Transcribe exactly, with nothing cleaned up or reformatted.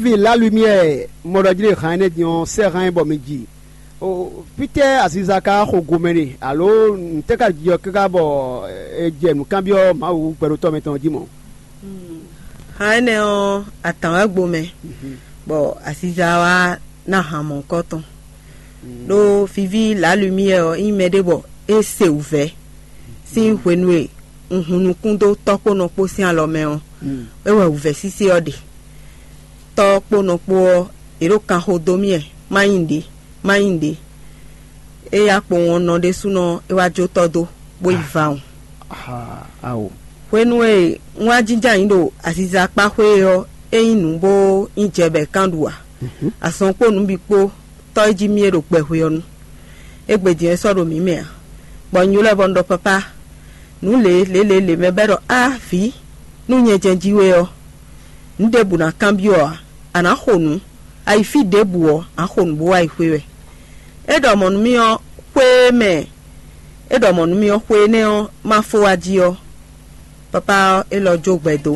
Pi la lumière mɔ ɖɔ jí ɖe han énɛ́ din ɔ́, sɛ́ han ɛ bɔ mi ji. O, fítɛ́ aziza ka xo gomɛ ɖe, alo ntɛ́ ka jijɔ káká bɔ è jɛ nǔkanbyɔ́ Mawu gbɛɖotɔ́ mɛtɔn jí mɔ̌? Han énɛ́ ɔ́, atǎn wɛ gbo mɛ, bɔ aziza wa ná han mɔ̌kɔ tɔn. Ɖó viví la lumière ɔ́ nyí mɛ ɖé bɔ é se wǔvɛ́ sín hwenu e un hun nukún dó tɔ́ kpó nɔ kpó sín alɔ mɛ ɔ́, é wɛ wǔvɛ́ sise ɔ́ ɖe. Tɔ́ kpó nɔ kpó ɔ́, yě ɖo kanxo dó mì wɛ, má nyí nǔɖé, má nyí nǔɖé. Éyɛ́ akpowun ɔ́ nɔ ɖésúnɔ é wá jó tɔ́ dó, bó yi vawun. Ao. Hwenu e un wá jínjɔ́n ayǐ ɖo aziza kpá xwé é ɔ́, é nyí nǔ bó nyí jɛ bɔ è kán ɖu ǎ. Azɔn kpó nǔ bǐ kpó tɔ́ e jí mì é ɖo gbɛhwe ɔ́ nu. Égbé din é sɔ́ ɖo mǐ mɛ ǎ, bɔ un ylɔ́ ɛ bɔ un ɖɔ: "Papá, nǔ lě lě lě lě mɛ bɛ́ ɖɔ á vǐ, nú nyɛ jɛ́n jí we ɔ́, nǔ ɖěbǔ ná kanbyɔ́ ǎ; a nǎ xo nǔ, a yi fí ɖěbǔ ɔ́, a xo nǔ bó wá yi xwé wɛ." É ɖɔ mɔ̌ nú mì ɔ́, xwé e mɛ é ɖɔ mɔ̌ nú mì ɔ́, xwe énɛ́ ɔ́, má fó wá jí ɔ́, papá ɔ́, é lɔ jó gbɛ dó.